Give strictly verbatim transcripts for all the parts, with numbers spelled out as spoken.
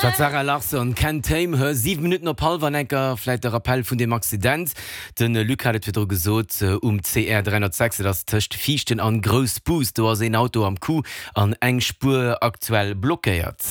Dat war d'Zara Larsson, Can't Tame Her. Siwe Minutten op hallwer enker vläicht de Rappel vun deem Accident. De Luc hat et virdru gesot, um C R dräihonnertsechs, dat ass tëscht Viichten an Groussbus, do ass een Auto am Coup an eng Spuer aktuell blockéiert.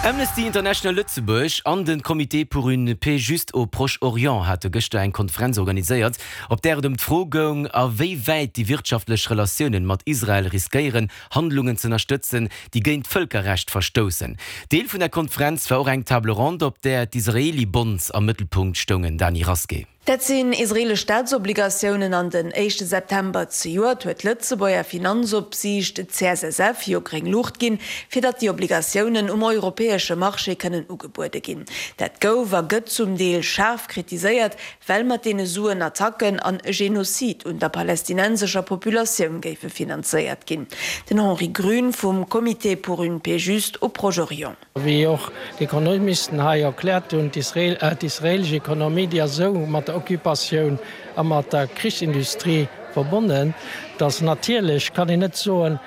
Amnesty International Lëtzebuerg an de Comité pour une paix juste au Proche-Orient hate gëschter eng Konferenz organiséiert, op där et ëm d'Fro goung, a wéi wäit déi wirtschaftlech Relatiounen mat Israel riskéieren, Handlungen ze ënnerstëtzen, déi géint d'Vëlkerrecht verstoussen. Deel vun der Konferenz war och eng Table ronde, op där d'Israeli Bonds am Mëttelpunkt stoungen. Dany Rasqué. Dat sinn israelesch Staatsobligatiounen. An den éischte September zejoert huet d'Lëtzebuerger Finanzopsiicht, d'C S S F, jo gréng Luucht ginn, fir datt déi Obligatiounen um europäesche Marché kënnen ugebuede ginn. Dat gouf a gëtt zum Deel schaarf kritiséiert, well mat deene Suen Attacken an e Genozid un der palästinensescher Populatioun géife finanzéiert ginn. Den Henri Grün vum Comité pour une paix juste au Proche-Orient. Wéi och d'Ekonomisten hei erkläert hunn, d'israelesch Ekonomie, déi ass esou mat der Occupatioun a mat der Krichsindustrie verbonnen, datt natierlech kann een net soen,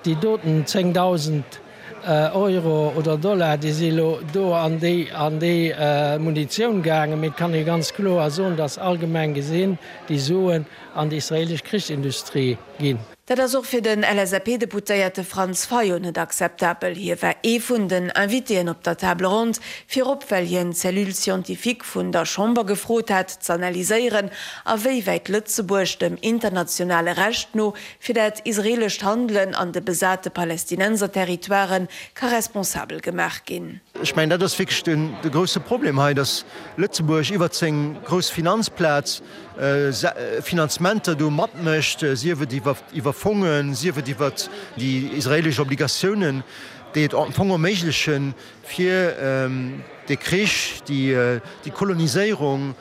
déi doten zéngdausend Euro oder Dollar, déi si lo do an déi an déi Munitioun gaangen, mee et kann ee ganz kloer soen, datt allgemeng gesinn déi Suen an déi israelesch Krichsindustrie ginn. Dat ass och fir den L S A P-Deputéierte Franz Fayot net akzeptabel. Hie war ee vun den Invitéen op der Table ronde, virop well hien d'Cellule scientifique vun der Chamber gefrot hat, z'analyséieren, a wéi wäit Lëtzebuerg dem internationale Recht no fir dat israelescht Handelen an de besate Palästinenser-Territoiren ka responsabel gemaach ginn. Ech mengen, dat ass wierklech de grousse Problem hei, datt Lëtzebuerg iwwert seng grouss Finanzplaz Finanzementer do matmécht, sief et iwwer Fongen, sief et iwwer déi israelesch Obligatiounen, déi et am Fong erméiglechen, fir de Krich, déi Koloniséierung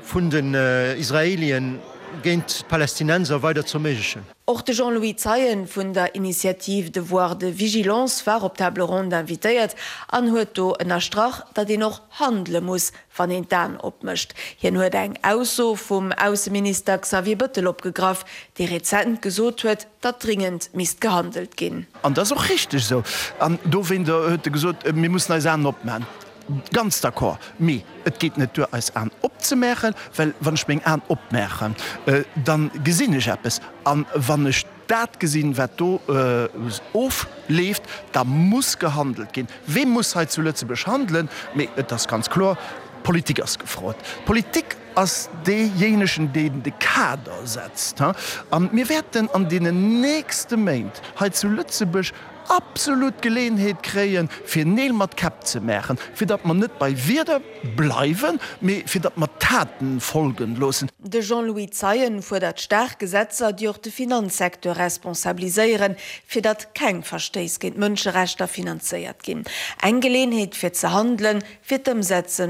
vun den Israelien géint d'Palästinenser weider ze erméiglechen. Och de Jean-Louis Zeien vun der Initiative Devoir de vigilance war op d'Table ronde invitéiert an huet do ënnerstrach, datt een och handele muss, wann een d'Aen opmécht. Hien huet eng Ausso vum Ausseminister Xavier Bëttel opgegraff, dee rezent gesot huet, datt dringend misst gehandelt ginn. An dat ass och richteg esou. An dowéint huet e gesot, mir mussen eis Aen opmaachen. Ganz d'accord. Mee et geet net duer, eis Aen opzemaachen, well wann ech meng Aen opmaachen, da gesinn ech eppes. An wann ech dat gesinn, wat do ofleeft, da muss gehandelt ginn. Wee muss hei zu Lëtzebuerg handelen? Mee et ass ganz kloer, d'Politik ass gefrot. D'Politik ass deejéinegen, deen de Kader setzt. A mir wäerten an deenen nächste Méint hei zu Lëtzebuerg absolut d'Geleeënheet kréien, fir Neel mat Käpp ze maachen, fir datt mer net bei Wierder bleiwen, mee fir datt mer Taten folgen loossen. De Jean-Louis Zeien fuerdert staark Gesetzer, déi och de Finanzsecteur responsabiliséieren, fir datt keng Verstéiss géint Mënscherechter finanzéiert ginn. Eng Geleeënheet fir ze handelen, fir d'Ëmsetze